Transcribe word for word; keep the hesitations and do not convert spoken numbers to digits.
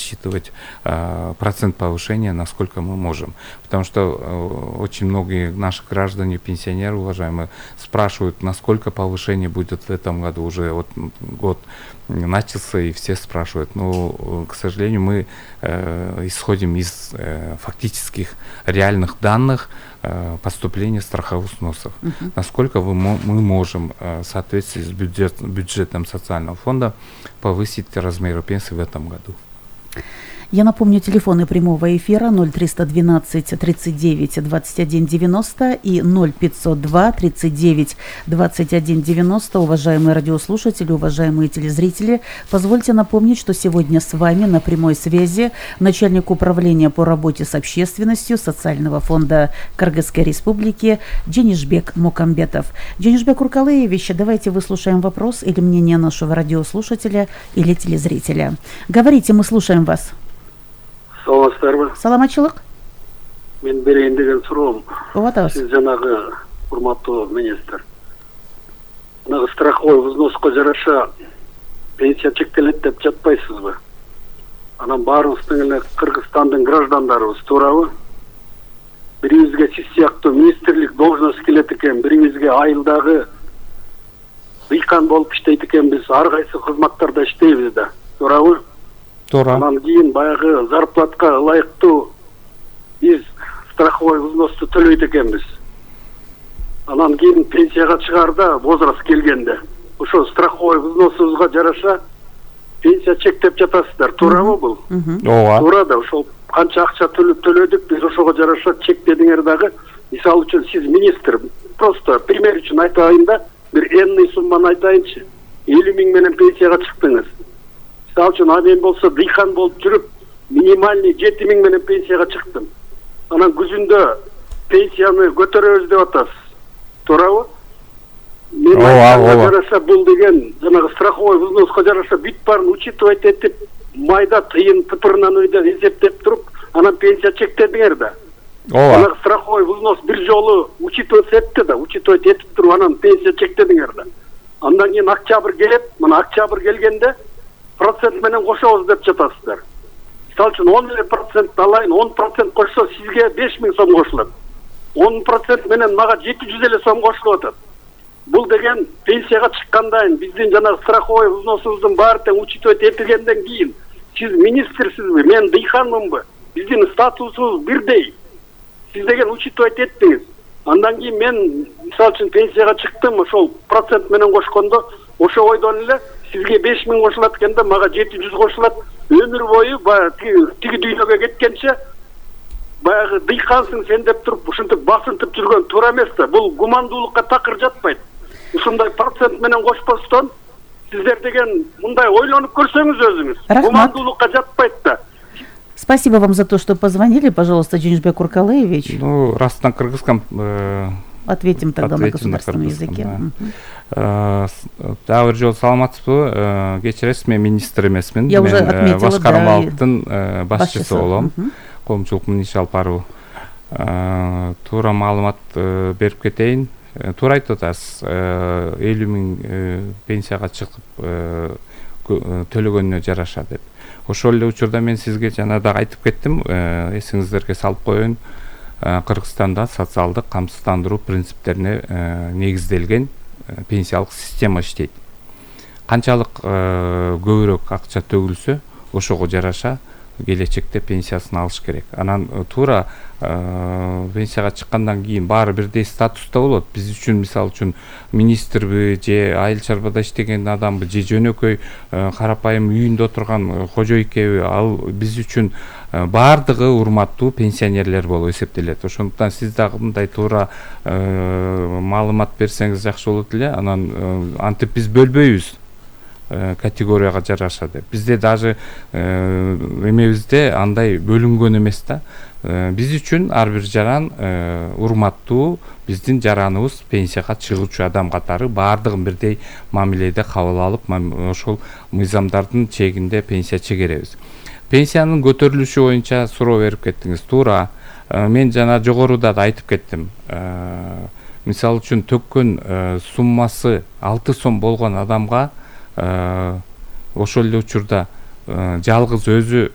рассчитывать процент повышения, насколько мы можем. Потому что очень многие наши граждане, пенсионеры, уважаемые, спрашивают, насколько повышение будет в этом году. Уже вот год начался, и все спрашивают. Но, к сожалению, мы исходим из фактических реальных данных поступления страховых взносов. Uh-huh. Насколько вы, мы можем в соответствии с бюджет, бюджетом социального фонда повысить размеры пенсий в этом году. Я напомню, телефоны прямого эфира ноль триста двенадцать тридцать девять двадцать один девяносто и ноль пятьсот два тридцать девять двадцать один девяносто. Уважаемые радиослушатели, уважаемые телезрители, позвольте напомнить, что сегодня с вами на прямой связи начальник управления по работе с общественностью Социального фонда Кыргызской Республики Дженишбек Мукамбетов. Дженишбек Уркалыевич, давайте выслушаем вопрос или мнение нашего радиослушателя или телезрителя. Говорите, мы слушаем вас. Саламатсыздарбы? Саламатчылык. Мен берейин деген суроом. Ооба. Сиз жанагы урматтуу министр. Жанагы страховой взноско жараша пенсия чектелет деп жатпайсызбы? Анан баарыбыздын эле Кыргызстандын граждандарыбыз туурабы? Бирибизге сиз сыяктуу министрлик должность келет экен, бирибизге айылдагы дыйкан болуп иштейт экенбиз, ар кайсы кызматтарда иштейбиз да. Туурабы? Туура. Анан кийин баягы зарплатка ылайыктуу биз страховой взносты төлөйт экенбиз. Анан кийин пенсияга чыгаарда возраст келгенде ошо страховой взносубузга жараша пенсия чектеп жатасыздар. Туурабы бул? Ооба. Туура да, ошол канча акча төлөп төлөдүк, биз ошого жараша чектедиңер дагы. Мисалы үчүн сиз министр, просто пример үчүн айтайын да, бир энный сумманы айтайынчы. элүү миң менен пенсияга чыктыңыз. Мисалы үчүн а мен болсо дыйкан болуп жүрүп, минимальный жети миң менен пенсияга чыктым. Анан күзүндө пенсияны көтөрөбүз деп атасыз. Туурабы? Мен жараша бул деген жанагы страховой взноска жараша бүт баарын учитывать этип, майда тыйын тыпырынан өйдө эсептеп туруп, анан пенсия чектедиңер да. Ооба. Жанагы страховой взнос бир жолу учитывать этти да, учитывать этип туруп анан пенсия чектедиңер да. Андан кийин октябрь келет, мына октябрь келгенде процент менен кошобуз деп жатасыздар. Мисалы үчүн он процент алайын, он процент кошсо сизге беш миң сом кошулат. он процент менен мага жети жүз элүү сом кошулуп атат. Бул деген пенсияга чыккандан биздин жанагы страховой взносубуздун баары тең учитывать этилгенден кийин сиз министрсизби, мен дыйканмынбы? Биздин статусубуз бирдей. Сиз деген учитывать эттиңиз. Андан кийин мен мисалы үчүн пенсияга чыктым, ошол процент менен кошкондо ошо ойдон эле сизге беш миң кошулат экенде, мага жети жүз кошулат. Өмүр бою баягы тиги дүйнөгө кеткенче баягы дыйкансың сен деп туруп ушинтип басынтып жүргөн туура эмес да. Бул гумандуулукка такыр жатпайт. Ушундай процент менен кошпостон сиздер деген мындай ойлонуп көрсөңүз өзүңүз. Гумандуулукка жатпайт да. Спасибо вам за то, что позвонили. Пожалуйста, Дженишбек Уркалыевич. Ну, раз на кыргызском... Э, ответим тогда на государственном языке. Дагы бир жолу саламатсызбы? Кечиресиз, мен министр эмесмин. Я уже отметила, да. Башкармалыктын башчысы болом. Коомчулук мын иш алып баруу. Туура маалымат берип кетейин. Туура айтып атасыз. элүү миң пенсияга чыгып төлөгөнүнө жараша деп. Ошол эле учурда мен сизге жана дагы айтып кеттим, эсиңиздерге салып коеюн. Кыргызстанда социалдык камсыздандыруу принциптерине негизделген пенсиялык система иштейт. Канчалык көбүрөөк акча төгүлсө, ошого жараша келечекте пенсиясын алыш керек. Анан туура пенсияга чыккандан кийин баары бирдей статуста болот. Биз үчүн мисалы үчүн министрби же айыл чарбада иштеген адамбы же жөнөкөй карапайым үйүндө отурган кожойкеби, ал биз үчүн баардыгы урматтуу пенсионерлер болуп эсептелет. Ошондуктан сиз дагы мындай туура маалымат берсеңиз жакшы болот эле. Анан антип биз бөлбөйбүз категорияга жараша деп. Бизде даже эмебизде андай бөлүнгөн эмес да. Биз үчүн ар бир жаран урматтуу, биздин жараныбыз пенсияга чыгуучу адам катары баардыгын бирдей мамиледе кабыл алып, ошол мыйзамдардын чегинде пенсия чегеребиз. Пенсиянын көтөрүлүшү боюнча суроо берип кеттиңиз. Туура. Мен жана жогоруда да айтып кеттим. Мисалы үчүн төккөн суммасы алты сом болгон адамга ошол эле учурда жалгыз өзү